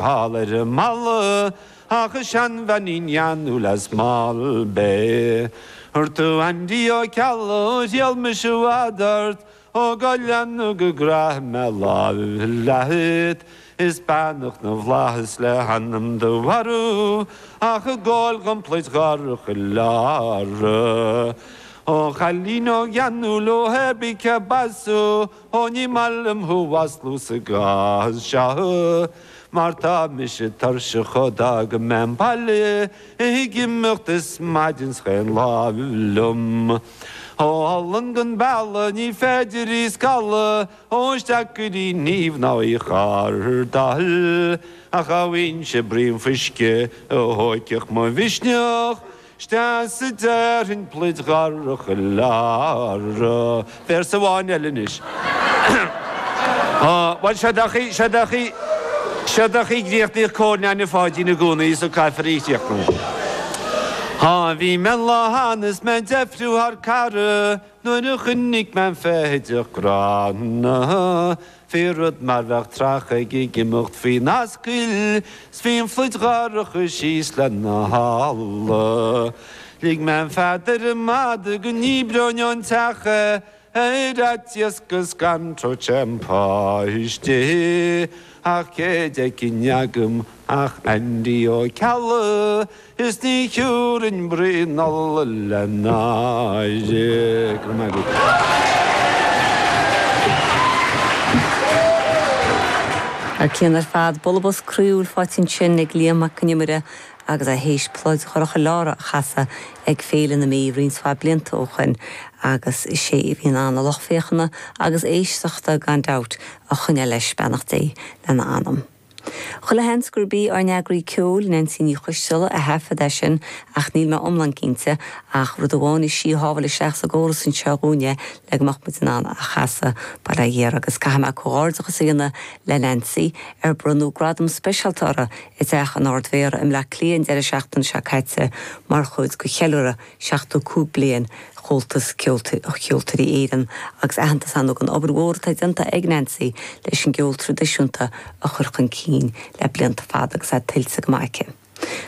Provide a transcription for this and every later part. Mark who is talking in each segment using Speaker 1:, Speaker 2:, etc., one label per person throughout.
Speaker 1: Thall ar an mballa ach an seanbheainín gheanúil as Malbay. Ar tú Andy Ó Ceallaigh, thriall mise i bhfad ort, ó go leanadh go gcraith mé lámh leat, is beannacht na bhflaitheas le hanam do mharbh ach ag gabháil dhom pluid dhorcha Lára. Ó chailín óg gheanúil ó hé bí cé b'as thú, Ó ní maith liom thú mhaslú sa gcás seo mar tá mise tuirseach ó d'fhága mé an baile ag imeacht is maidin 's chaon lá liom. Ó olann gan bealadh ní féidir í scalladh ó is deacair í niamh ná í chardáil ach dá bhfaighinnse braon fuisce a thóigfeadh mo mhisneach Isteach sa déarfainn pluid dhorcha Lára. Véarsa amháin eile anois. Bhuel, seod é an chaoi, seod é an chaoi, seod é an chaoi a gcríochnaíodh Cóil Neaine Pháidín i gcónaí so caithfear í a chríochnú. Á, bhí mé an lá cheana is mé ag deifriú thar cara nuair a chonaic mé an feithideach gránna. Bhí rud mar bheadh trach ag imeacht faoin ascaill 's bhí an phluid dhorcha síos lena halla. Lig mé an fead ar an mada go ndíbreoinn ón teach é ar fhaitíos go scanródh sé an páiste. Ach cé d'fheicfinn agam ach Andy Ó Ceallaigh Is ní thiúrfainn braon ola le náire. Go raibh maith agat.
Speaker 2: Thar cionn ar fad, bualadh bos croíúil faighte ansin ag Liam Mac Con Iomaire agus é théis Pluid Dhorcha Lára a chasadh ag Féile na Mí roinnt mhaith blianta ó shoin agus is é a bhí in ann a lucht féachana agus éisteachta gan dabht a choinneáil leis, beannacht Dé lena anam. Chuile sheans gurb í ár n-eagraí ceoil, Neansaí Ní Choisteala, a thaifead é sin ach níl mé iomlán cinnte, ach rud amháin is í a shábháil isteach sa gcóras anseo dhúinn é le go mbeadh muid in ann a chasadh, bail ó Dhia uirthi agus caithfidh mé comhghairdeachas a dhéanamh le Neansaí, ar bronnadh gradam speisialta uirthi i dTeach an Ard-Mhéara i mBleá Cliath an deireadh seachtaine seo caite mar chuid de cheiliúradh 75 bliain Chomhaltas Ceoltóirí Éireann agus aitheantas ann don obair mhór atá déanta ag Neansaí leis an gceol traidisiúnta a chur chun cinn le blianta fada agus é tuillte go maith aici.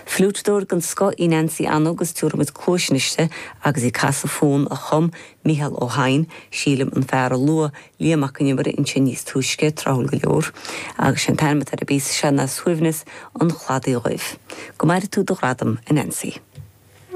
Speaker 2: Fliúiteadóir den scoth í Neansaí Anna agus tabharfaidh muid cluais anois di agus í ag casadh fonn a chum Mícheál Ó hEidhin, sílim, an fear a luaigh Liam Mac Con Iomaire ansin níos túisce, tráthúil go leor. Agus sé an t-ainm atá ar an bpíosa seo ná Suaimhneas an Chladaigh Dhuibh. Go maire tú do ghradam, a Neansaí.